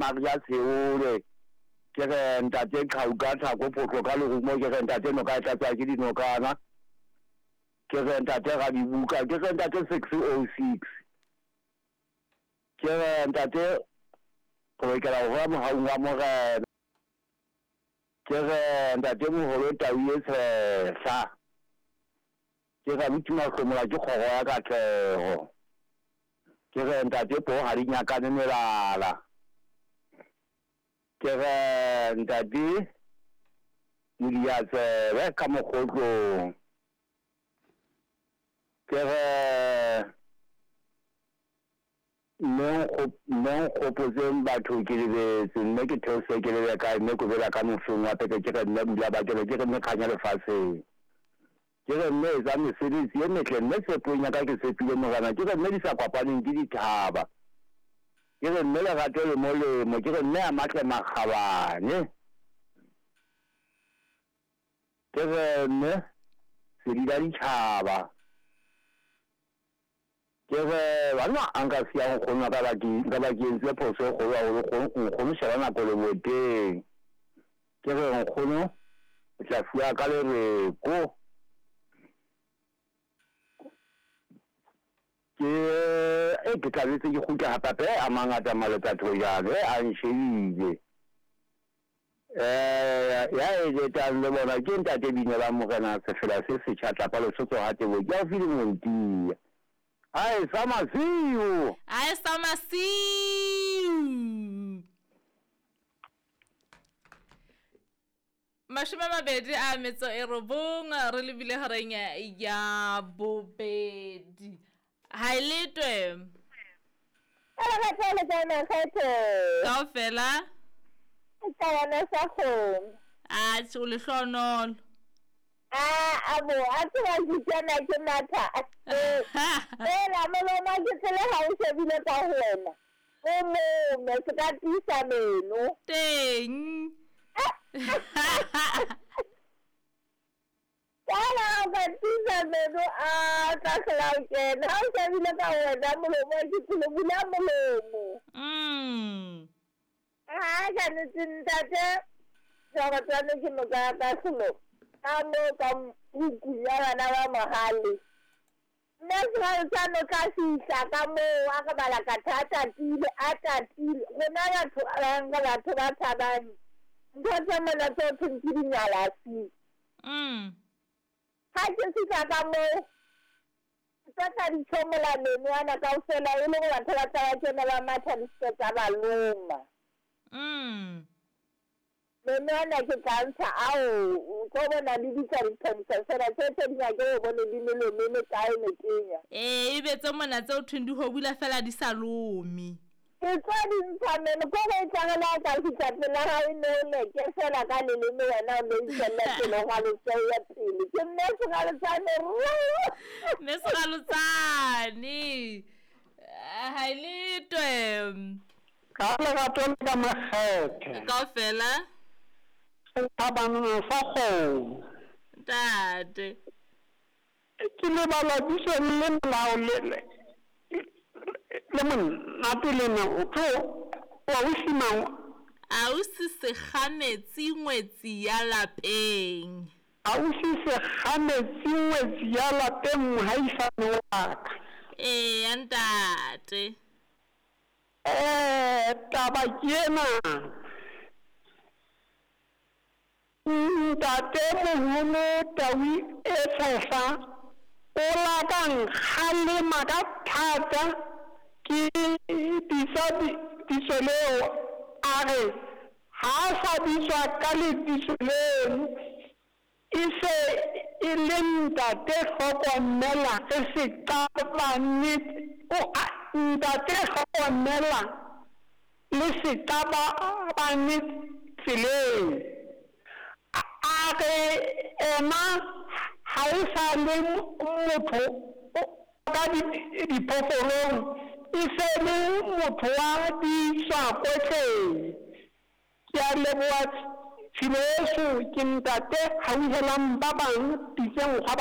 Maria Tsheole, ke re ntate Qhau ka tlhako phohlo ka lerumo, ke re ntate noka e tlatswa ke dinokana, ke re ntate Radibuka, ke re ntate 606, ke re ntate re lokela ho hola mohaung wa Morena, ke re ntate moholo tau e tshehla, ke re abuti Mahlomola ke kgoro ya katleho. Ke re ntate poo ga di nyakane melala. Ke re ntate Modiatsebe ka mogotlong. Ke re mme nkgopotseng batho ke lebetse mme ke theose ke lebe kae mme kobela ka mofeng wa peke ke re mme bula ba ke re ke re mme kganya lefatsheng. Ke re, Mme etsa mesebetsi e metle, mme tshepong ya ka ke tshepile Morena. Ke re, Mme di sa kopaneng ke dithaba. Ke re, Mme lerato le molemo. Ke re, Mme a matle makgabane. Ke re, Mme sedi la ditjhaba. Ke re, Banna, a nka siya nkgono wa ka ba ke, nka ba ke entse phoso e kgolo haholo. Nkgono sheba nako leboteng. Ke re, Nkgono, o tla fuwa ka lereko. Ke, e, ke tla betse ke kgutla hape hape. A mangata malota thojane, a nshebile. Eh, ya e letang le bona ke ntate bine ba morena sefela se setjha tlapa lesotho ha tebo ke haufi le Montia. Ae sa masiu. Ae sa masiu. 29 re lebile horeng ya bobedi. Ha e letwe. Kaofela. A o lehlohonolo. A bo a tseba ke kena ke matha. Ela moloma ke tsele ha o shebile ka ho wena. O mome se ka tiisa meno. Teng. Fela o ka tiisa meno a tla hlola o kena. Ha o shebile ka wena molomo ke tsele bula molomo. Ha ka nnete ntate Serotswane ke noka ya kahlolo ka moo ka hukung ya bana ba Mohale. Mme Serotswane o tla fihla ka moo a re balakatha a tatile a tatile. Rona batho ba bang re batho ba tshabang ntho tse mona tse ho thweng ke dinyalasi. Ha ke fihla ka moo ke tlo tla di tjhomola meno ana kaofela e le hore batho ba tla ba kena ba matha di se ke tsa ba loma. Meno ana ke tla ntsha ao o tlo bona le bitsa ditlhomisa fela tse tse di nyake o bone di melome e mekae metenya. Ee, ebe tse mona tse o thweng di hobula fela di sa lome. Ke tlo di ntsha meno ko re e tla re la ka fihla pela hao e ne o leke fela ka leleme wena o no itjella pele o ralotse o ya pele. Ke mme Seralotsane rro. Mme Seralotsane. Ha e letwe. Ka lerato le ka makgethe. Kaofela. Sethabana sa kgomo. Ntate. Ke lebala bitso le molao le le monate lena o tlo wa ausi mang? Ausi Sekgametsi ngwetsi ya lapeng. Ausi Sekgametsi ngwetsi ya lapeng mohaisane wa ka. Eya ntate. Eh taba ke ena. Ntate moholo Tau e Tshehla o la ka nkgalema ka thata ke bitsa bitso leo a re ha a sa bitswa ka lebitso leno e se e le ntate hlokomela re se qabane ntate hlokomela le se qabane tseleng. A re ena ha e sa le motho ka diphoofolong, e se le motho wa ditswakotleng. Ke a leboha tshilo yeso, ke ntate hauhelang ba bang pitseng hwa.